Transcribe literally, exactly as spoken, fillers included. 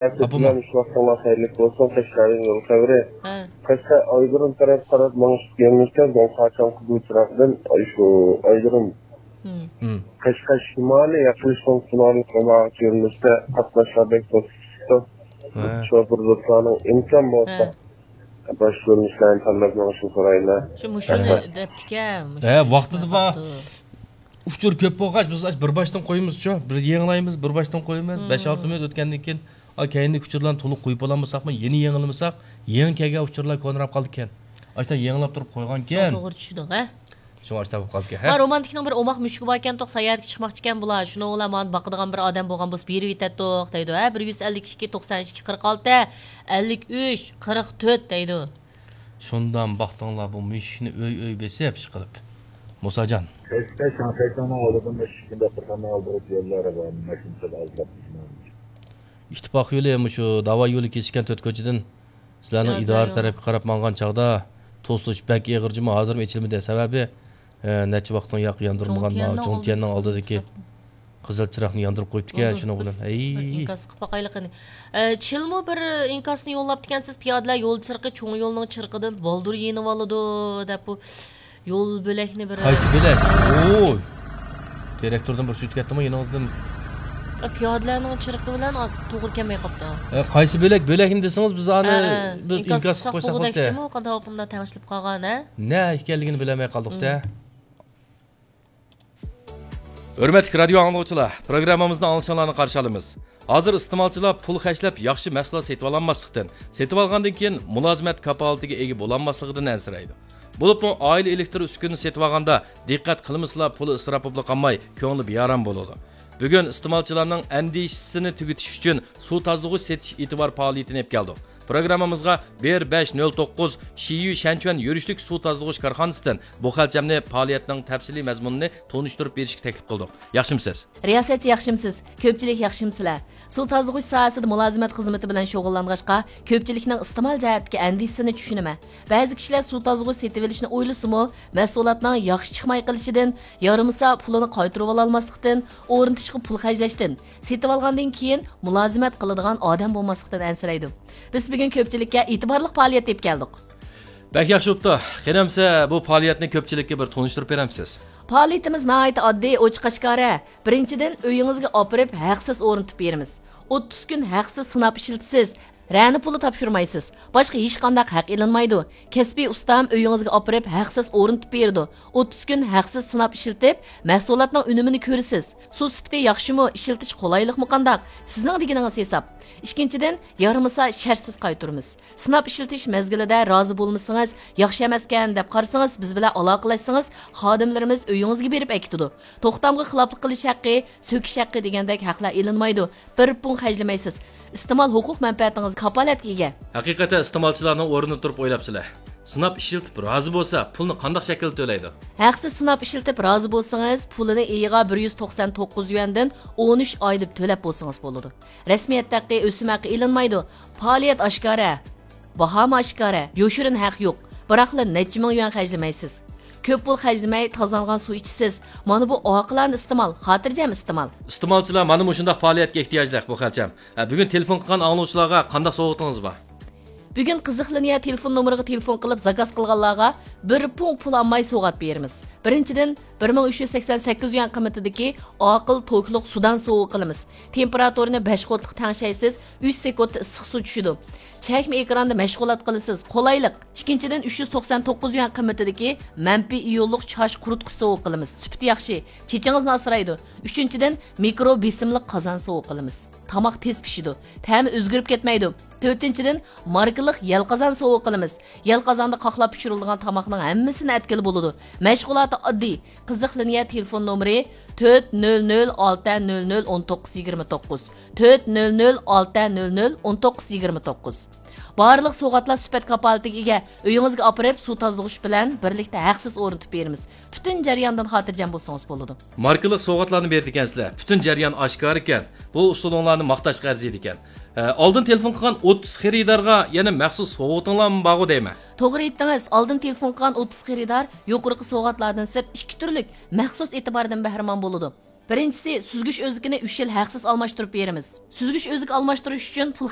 ئاپىمۇ. بىلەن شۇ ۋاقتىڭلار خەيرلىك بولسۇن، قەشقەردىن يول خەۋىرى. ھە. قەشقەر ئايرودروم تەرەپ قاراپ مېڭىش يۆنىلىشتە، زوڭخۇا چاڭقى گۇچراقتىن شۇ ئايرودروم. ھىم. ھىم. قەشقەر شىمالىي ياقىلىش پونكىتىنىڭ ئالدىغا يۆنىلىشتە قاتناشلار بەك توسۇپ چىقىپتۇ. ھە. شوپۇر دوستلارنىڭ ئىمكان بولسا، ھە. باشقا يۆنىلىشلەرنى تاللاپ مېڭىشنى سورايمەن. شۇ مۇشۇنى رەھمەت. دەپتىكەن، مۇشۇنى ھە، ۋاقتىدا بار. ئۇچۇر كۆپ بولغاچ، بىز ئاش بىر باشتىن قويىمىزچۇ، بىر يېڭىلايمىز، بىر باشتىن قويىمىز، مم. بەش-ئالتە مىنۇت ئۆتكەندىن كېيىن، ئا، كەينىدىكى ئۇچۇرلارنى تولۇق قويۇپ بولالمىساقمۇ، يېڭى يېڭىلىمىساق، يېڭى كەلگەن ئۇچۇرلار كونىراپ قالىدىكەن. ئاشتا يېڭىلاپ تۇرۇپ قويغانكەن. شۇڭا توغرا چۈشىدىڭ، ھە؟ شۇڭا ئاشتا بولۇپ قالدىكەن، ھە؟ ھە، رومانتىكنىڭ بىر ئوماق مۈشۈكى باركەنتۇق، ساياھەتكە چىقماقچىكەن بۇلار. شۇنىڭ بىلەن مانا باقىدىغان بىر ئادەم بولغان بولسا، بېرىۋېتەتتۇق، دەيدۇ، ھە؟ بىر يۈز ئەللىك ئىككى، توقسان ئىككى، قىرىق ئالتە، ئەللىك ئۈچ، قىرىق تۆت، دەيدۇ. شۇندام باقتىڭلار بۇ مۈشۈكنى ئۆي-ئۆي بېسىپ ئىشقىلىپ. مۇساجان. كەچتە شاڭخەيتاڭنىڭ ئالدىدىن ئىككىنچى داختۇرخانىنىڭ ئالدىغىچە يوللار بار، ماشىنا سەل ئازلاپ. ئىتتىپاق يولى مۇشۇ داۋا يولى كېسىشكەن تۆت كوچىدىن سىلەرنىڭ يا، ئىدارە يا. تەرەپكە قاراپ ماڭغان چاغدا توسۇلۇش بەك ئېغىر جۇمۇ، ھازىرمۇ ئېچىلمىدى. سەۋەبى، ئە، نەچچە ۋاقىتتىن ياق ياندۇرمىغان جۇڭتيەننىڭ جۇڭتيەننىڭ ئالدىدىكى قىزىل چىراغنى ياندۇرۇپ قويۇپتىكەن، بولدى، شۇنىڭ بىز بىلەن. ھەي. بىر ئىنكاس قىلىپ باقايلى قېنى. ئە، چىلمۇ بىر ئىنكاسنى يوللاپتىكەنسىز، پىيادىلەر يول چىرىقى چوڭ يولنىڭ چىرىقىدىن بالدۇر يېنىۋالىدۇ، دەپ بۇ يول بۆلەكنى بىر قايسى بۆلەك؟ ئوي! تىراكتوردىن بىرسى ئۆتۈپ كەتتىمۇ يېنىڭىزدىن؟ ئە، پىيادىلەرنىڭ چىرىقى بىلەن، ئا، توغرا كەلمەي قاپتۇ. ئە، قايسى بۆلەك؟ بۆلەكنى دېسىڭىز، بىز ئانى ئە، ئە، بىر ئىنكاس ئىنكاس قىلساق قىلىپ قويساق بولاتتى. بولغۇدەكچىمۇ، قانداق ئاپامدا تەڭشىلىپ قالغان، ھە؟ نە ئىكەنلىكىنى بىلەلمەي قالدۇق-تە. مم. ھۆرمەتلىك رادىيو ئاڭلىغۇچىلار، پروگراممىمىزنىڭ ئاڭلىشىڭلارنى قارشى ئالىمىز. ھازىر ئىستېمالچىلار پۇل خەجلەپ ياخشى مەھسۇلات سېتىۋالالماسلىقتىن، سېتىۋالغاندىن كېيىن مۇلازىمەت كاپالىتىگە ئىگە بولالماسلىقىدىن ئەنسىرەيدۇ. بولۇپمۇ ئائىلە ئېلېكتر ئۈسكۈنىسى سېتىۋالغاندا دىققەت قىلمىسىلا، پۇلى ئىسراپ بولۇپلا قالماي، كۆڭلى بىئارام بولىدۇ. بۈگۈن ئىستېمالچىلارنىڭ ئەندىشىسىنى تۈگىتىش ئۈچۈن سۇ تازىلىغۇچ سېتىش ئېتىبار پائالىيىتىنى ئېلىپ كەلدۇق. پروگراممىمىزغا بىر بەش نۆل توققۇز شىيۈ شەنچۈەن يۈرۈشلۈك سۇ تازىلىغۇچ كارخانىسىدىن بۇ خەلچەمنى پائالىيەتنىڭ تەپسىلىي مەزمۇنىنى تونۇشتۇرۇپ بېرىشكە تەكلىپ قىلدۇق. ياخشىمۇسىز؟ رىياسەتچى، ياخشىمۇسىز؟ كۆپچىلىك ياخشىمۇسىلەر؟ سۇ تازىلىغۇچ ساھەسىدە مۇلازىمەت خىزمىتى بىلەن شۇغۇللانغاچقا، كۆپچىلىكنىڭ ئىستېمال جەھەتتىكى ئەندىشىسىنى چۈشىنىمەن. بەزى كىشىلەر سۇ تازىلىغۇچ سېتىۋېلىشنى ئويلىسىمۇ، مەھسۇلاتنىڭ ياخشى چىقماي قېلىشىدىن، يارىمىسا پۇلىنى قايتۇرۇۋالالماسلىقتىن، ئورنىتىشقا پۇل خەجلەشتىن، سېتىۋالغاندىن كېيىن مۇلازىمەت قىلىدىغان ئادەم بولماسلىقتىن ئەنسىرەيدۇ. بىز بۈگۈن كۆپچىلىككە ئېتىبارلىق پائالىيەت ئېلىپ كەلدۇق. بەك ياخشى بوپتۇ. قېنى ئەمسە بۇ پائالىيەتنى كۆپچىلىككە بىر تونۇشتۇرۇپ بېرەمسىز؟ پائالىيىتىمىز ناھايىتى ئاددىي، ئوچۇق-ئاشكارا. بىرىنچىدىن، ئۆيىڭىزگە ئاپىرىپ ھەقسىز ئورنىتىپ بېرىمىز. ئوتتۇز كۈن ھەقسىز سىناپ ئىشلىتىسىز. رەنە پۇلى تاپشۇرمايسىز. باشقا ھېچقانداق ھەق ئېلىنمايدۇ. كەسپىي ئۇستام ئۆيىڭىزگە ئاپىرىپ ھەقسىز ئورنىتىپ بېرىدۇ. ئوتتۇز كۈن ھەقسىز سىناپ ئىشلىتىپ، مەھسۇلاتنىڭ ئۈنۈمىنى كۆرىسىز. سۇ سۈپىتى ياخشىمۇ، ئىشلىتىش قولايلىقمۇ قانداق؟ سىزنىڭ دېگىنىڭىز ھېساب. ئىككىنچىدىن، يارىمىسا شەرتسىز قايتۇرىمىز. سىناپ ئىشلىتىش مەزگىلىدە رازى بولمىسىڭىز، ياخشى ئەمەسكەن دەپ قارىسىڭىز، بىز بىلەن ئالاقىلەشسىڭىز، خادىملىرىمىز ئۆيىڭىزگە بېرىپ ئەكېتىدۇ. توختامغا خىلاپلىق قىلىش ھەققى، سۆكۈش ھەققى دېگەندەك ھەقلەر ئېلىنمايدۇ. بىر پۇڭ خەجلىمەيسىز. ئىستېمال ھوقۇق مەنپەئەتىڭىز كاپالەتكە ئىگە. ھەقىقەتەن ئىستېمالچىلارنىڭ ئورنىدا تۇرۇپ ئويلاپسىلەر. سىناپ ئىشلىتىپ رازى بولسا، پۇلنى قانداق شەكىلدە تۆلەيدۇ؟ ھەقسىز سىناپ ئىشلىتىپ رازى بولسىڭىز، پۇلىنى ئېيىغا بىر يۈز توقسان توققۇز يۈەندىن ئون ئۈچ ئاي دەپ تۆلەپ بولسىڭىز بولىدۇ. رەسمىيەت ھەققى، ئۆسۈم ھەققى ئېلىنمايدۇ. پائالىيەت ئاشكارا. باھامۇ ئاشكارا، يوشۇرۇن ھەق يوق، بىراقلا نەچچە مىڭ يۈەن خەجلىمەيسىز. كۆپ پۇل خەجلىمەي، تازىلانغان سۇ ئىچىسىز. مانا بۇ ئاقىلانە ئىستېمال، خاتىرجەم ئىستېمال. ئىستېمالچىلار مانا مۇشۇنداق پائالىيەتكە ئېھتىياجلىق بۇ خەلچەم. ھە، بۈگۈن تېلېفون قىلغان ئاڭلىغۇچىلارغا قانداق سوۋغىتىڭىز بار؟ بۈگۈن قىزىق لىنىيە تېلېفون نومۇرىغا تېلېفون قىلىپ زاكاز قىلغانلارغا بىر پۇڭ پۇل ئالماي سوۋغات بېرىمىز. بىرىنچىدىن، بىر مىڭ ئۈچ يۈز سەكسەن سەككىز يۈەن قىممىتىدىكى ئاقىل توكلۇق سۇدان سوۋغا قىلىمىز. تېمپېراتۇرىنى بەش ۋولتلۇق تەڭشەيسىز، ئۈچ سېكۇنتتا ئىسسىق سۇ چۈشىدۇ. چەكمە ئېكراندا مەشغۇلات قىلىسىز، قولايلىق. ئىككىنچىدىن، ئۈچ يۈز توقسان توققۇز يۈەن قىممىتىدىكى مەنپىي ئىيونلۇق چاچ قۇرۇتقۇچ سوۋغا قىلىمىز. سۈپىتى ياخشى، چېچىڭىزنى ئاسرايدۇ. ئۈچىنچىدىن، مىكرو بېسىملىق قازان سوۋغا قىلىمىز. تاماق تېز پىشىدۇ، تەمى ئۆزگىرىپ كەتمەيدۇ. تۆتىنچىدىن، ماركىلىق يەل قازان سوۋغا قىلىمىز. يەل قازاندا قاقلاپ پىشۇرۇلىدىغان تاماقنىڭ ھەممىسىنى ئەتكىلى بولىدۇ. مەشغۇلاتى ئاددىي. قىزىق لىنىيە تېلېفون نومۇرى تۆت نۆل نۆل ئالتە نۆل نۆل ئون توققۇز يىگىرمە توققۇز، تۆت نۆل نۆل ئالتە نۆل نۆل ئون توققۇز يىگىرمە توققۇز. بارلىق سوۋغاتلار سۈپەت كاپالىتىگە ئىگە. ئۆيىڭىزگە ئاپىرىپ، سۇ تازىلىغۇچ بىلەن بىرلىكتە ھەقسىز ئورنىتىپ بېرىمىز. پۈتۈن جەرياندىن خاتىرجەم بولسىڭىز بولىدۇ. ماركىلىق سوۋغاتلارنى بېرىدىكەنسىلەر. پۈتۈن جەريان ئاشكارىكەن. بۇ ئۇسۇلۇڭلارنى ماختاشقا ئەرزىيدىكەن. ئە، ئالدىن تېلېفون قىلغان ئوتتۇز خېرىدارغا يەنە مەخسۇس سوۋغىتىڭلارمۇ بارغۇ دەيمەن. توغرا ئېيتتىڭىز، ئالدىن تېلېفون قىلغان ئوتتۇز خېرىدار يۇقىرىقى سوۋغاتلاردىن سىرت ئىككى تۈرلۈك مەخسۇس ئېتىباردىن بەھرىمەن بولىدۇ. بىرىنچىسى، سۈزگۈچ ئۆزىكىنى ئۈچ يىل ھەقسىز ئالماشتۇرۇپ بېرىمىز. سۈزگۈچ ئۆزىكى ئالماشتۇرۇش ئۈچۈن پۇل